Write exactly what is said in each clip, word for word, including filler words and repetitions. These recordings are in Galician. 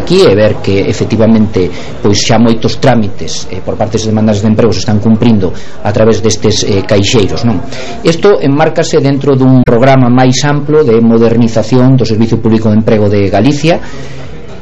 aquí e ver que efectivamente pois xa moitos trámites eh, por parte das demandas de emprego se están cumprindo a través destes eh, caixeiros, non? Isto enmárcase dentro dun programa máis amplo de modernización do Servicio Público de Emprego de Galicia,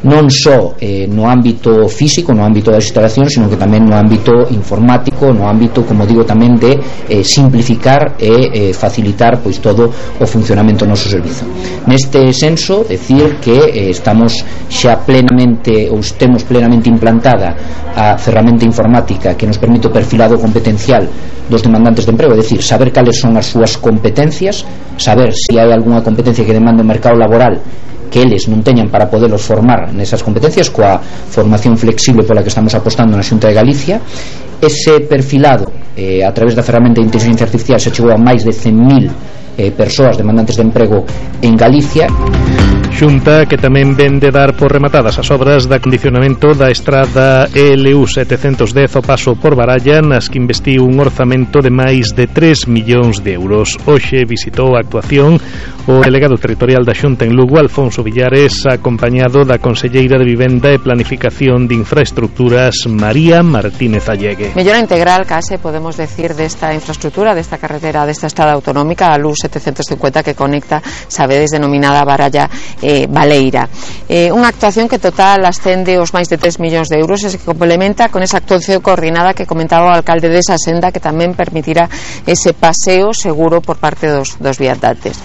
non só eh, no ámbito físico, no ámbito das instalacións, sino que tamén no ámbito informático, no ámbito, como digo, tamén de eh, simplificar e eh, facilitar pois todo o funcionamento do noso servizo. Neste senso, decir que eh, estamos xa plenamente ou temos plenamente implantada a ferramenta informática que nos permite o perfilado competencial dos demandantes de emprego, é dicir, saber cales son as súas competencias, saber se hai algunha competencia que demanda o mercado laboral que eles non teñan para podelos formar nesas competencias, coa formación flexible pola que estamos apostando na Xunta de Galicia. Ese perfilado eh, a través da ferramenta de inteligencia artificial se chegou a máis de cen mil eh, persoas demandantes de emprego en Galicia. Xunta que tamén ven de dar por rematadas as obras de acondicionamento da estrada L U setecentos dez o paso por Baralla, nas que investiu un orzamento de máis de tres millóns de euros. Hoxe visitou a actuación o delegado territorial da Xunta en Lugo, Alfonso Villares, acompañado da conselleira de Vivenda e Planificación de Infraestructuras, María Martínez Allegue. Mellora integral, case podemos decir, desta infraestructura, desta carretera, desta estrada autonómica, a L U setecentos cincuenta, que conecta, sabedes, denominada Baralla Eh, Baleira. Eh, unha actuación que total ascende aos máis de tres millóns de euros e se complementa con esa actuación coordinada que comentaba o alcalde desa senda, que tamén permitirá ese paseo seguro por parte dos, dos viandantes.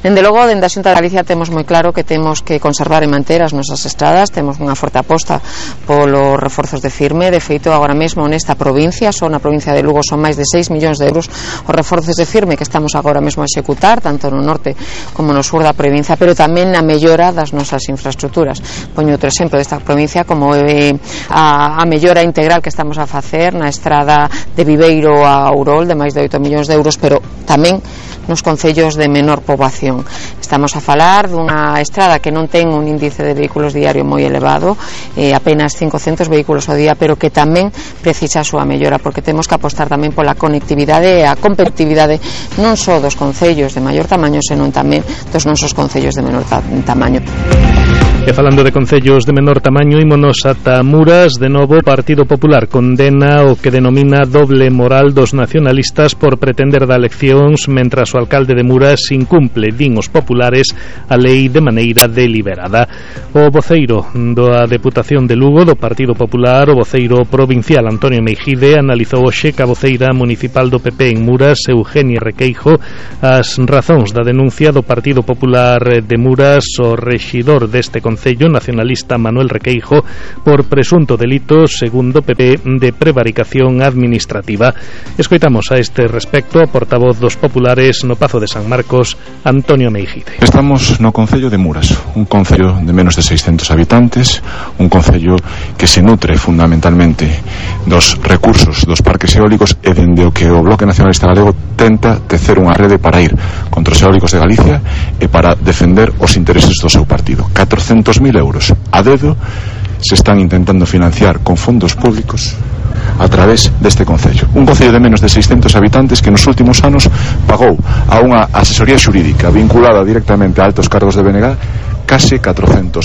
Dende logo, dende a Xunta de Galicia temos moi claro que temos que conservar e manter as nosas estradas, temos unha forte aposta polos reforzos de firme. De feito, agora mesmo nesta provincia, só na provincia de Lugo, son máis de seis millóns de euros os reforzos de firme que estamos agora mesmo a executar, tanto no norte como no sur da provincia, pero tamén na mellora das nosas infraestructuras. Poño outro exemplo desta provincia, como eh, a, a mellora integral que estamos a facer na estrada de Viveiro a Ourol, de máis de oito millóns de euros, pero tamén nos concellos de menor poboación. Estamos a falar dunha estrada que non ten un índice de vehículos diario moi elevado, eh, apenas cincocentos vehículos ao día, pero que tamén precisa a súa mellora, porque temos que apostar tamén pola conectividade e a competitividade non só dos concellos de maior tamaño, senón tamén dos nosos concellos de menor ta tamaño. E falando de concellos de menor tamaño, ímonos ata Muras. De novo, o Partido Popular condena o que denomina doble moral dos nacionalistas por pretender dar leccións mentras o alcalde de Muras incumple, din os populares, a lei de maneira deliberada. O voceiro da Deputación de Lugo do Partido Popular, o voceiro provincial Antonio Meijide, analizou hoxe ca voceira municipal do P P en Muras, Eugenia Requeijo, as razóns da denuncia do Partido Popular de Muras o rexidor deste concello nacionalista Manuel Requeijo por presunto delito, segundo P P, de prevaricación administrativa. Escoitamos a este respecto a portavoz dos populares no Pazo de San Marcos, Antonio Meijide. Estamos no concello de Muras, un concello de menos de seiscentos habitantes, un concello que se nutre fundamentalmente dos recursos dos parques eólicos e dende o que o Bloque Nacionalista Galego tenta tecer unha rede para ir contra os eólicos de Galicia e para defender os intereses do seu partido. catrocentos mil euros a dedo se están intentando financiar con fondos públicos a través deste concello. Un concello de menos de seiscentos habitantes que nos últimos anos pagou a unha asesoría xurídica vinculada directamente a altos cargos de B N G case catrocentos